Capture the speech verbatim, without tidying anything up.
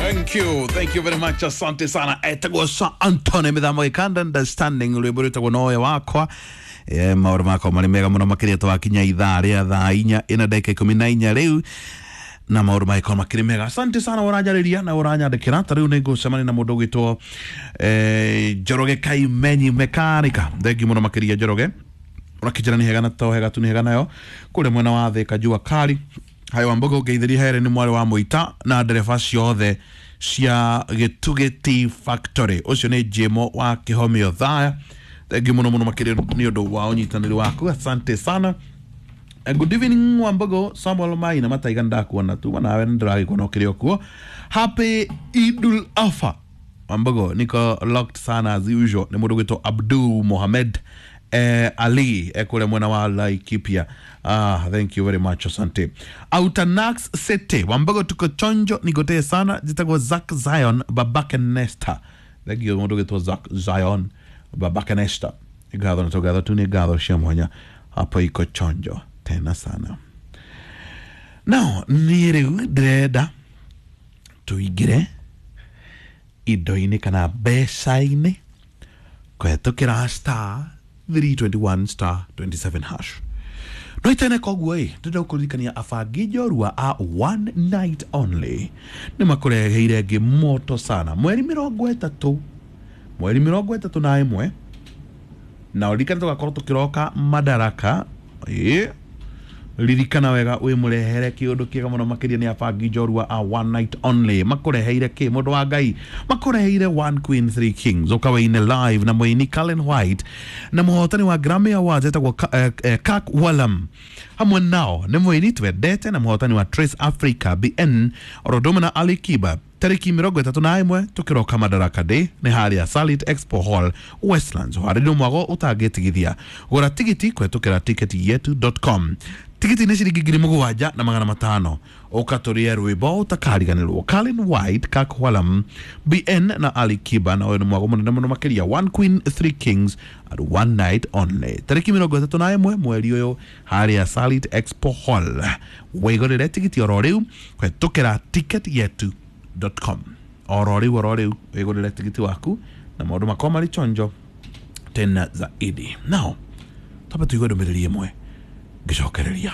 Thank you, thank you very much, asante sana. Etagwo Sir Anthony mithamo gikanda understanding rwimbo rwitagwo nowe wakwa. Eh, maũndũ makwa marĩ mega mũno makĩria twakinya ithaa rĩa thaa inya ĩna ndagĩka ikũmi na inya rĩu na maũndũ magĩkorwo makĩrĩ mega. Asante sana ũranjarĩria na ũranyandĩkĩra. Ta rĩu nĩ ngũcemania na mũndũ ũgwĩtwo eh, Njoroge Kaimenyi Mekanika. Thengiũ mũno makĩria Njoroge, ũrakĩnjĩra nĩ hega na to hega tu nĩ hega nayo kũrĩa mwena wa Thĩka jua kali. Hayo Wambogo ngeithĩria here nĩ mwarĩ wa Mũita na ndereba ciothe cia Gĩtugĩ Tea Factory. Ũcio nĩ Jimo wa Kĩhomio Thaya. Thengiũ mũno mũno makĩria nĩ ũndũ wa ũnyitanĩri waku, asante sana. Eh, good evening Wambogo. Samuel Maina Mataiga, ndakuona tu nawe nĩndĩragĩkuona ũkĩrĩ o kuo. Happy Idul Adha Wambogo, niko locked sana as usual. Nĩ mũndũ ũgwĩtwo Abdul Mohamed eh, Ali eh, kũrĩa mwena wa Laikipia. Ah, thank you very much, asante. Autanax City Wambogo, tuko chonjo, nigotee sana. Jitagwo Zack Zion babake Nesta. Thank you mũndũ ũgwĩtwo Zack Zion babake Nesta. Ngatho na tũgatho tu nĩ ngatho cia mwanya hapo, iko chonjo tena sana. Now niĩ rĩu ndĩrenda tũingĩre indo-inĩ kana mbeca-inĩ kũhetũkĩra star three twenty-one star twenty-seven hash. No itene koguo ĩ ndĩrenda gũkũririkania abangi njorua a One Night Only nĩ makũreheire ngĩ moto sana mweri mĩrongo ĩtatũ, mweri mĩrongo ĩtatũ na ĩmwe, na ũririkane tũgakorwo tũkĩroka Madaraka. Ĩ ririkana wega wĩmũrehere kĩũndũ kĩega mũno makĩria. Nĩ abangi njorua a One Night Only makũreheire kĩ, mũndũ wa Ngai? Makũreheire One Queen Three Kings, ũkawaine live na mũini Cullen White na mũhotani wa Grammy Awards etagwo Ka- eh, eh, Kirk Whalum. Hamwe nao nĩ mũini twendete na mũhotani wa Trace Africa B N oro ũndũ ũmwe na Ali Kiba. Tariki mĩrongo ĩtatũ na ĩmwe tũkĩroka Madaraka Day nĩ harĩa Salit Expo Hall, Westlands. Ũharĩrio mwago ũtangĩtigithia. Gũra tigiti kũhetũkĩra ticketyetu dot com. Tigiti nĩ ciringi ngiri mũgwanja na magana matano. Ũka tũrĩe rwĩmbo ũtakariganĩrwo. Colin White, Kirk Whalum, B N na Ali Kiba, na ũyũ nĩ mwago mũnene mũno makĩria, One Queen Three Kings at One Night Only, tariki mĩrongo ĩtatũ na ĩmwe mweri ũyũ harĩa Salit Expo Hall. Wĩgũrĩre tigiti oro rĩu kũhetũkĩra ticketyetu dot com oro rĩu, oro rĩu wĩgũrĩre tigiti waku na maũndũ makorwo marĩ chonjo tena zaidi. Now twambe tũigue ndũmĩrĩri ĩmwe ngĩcokereria.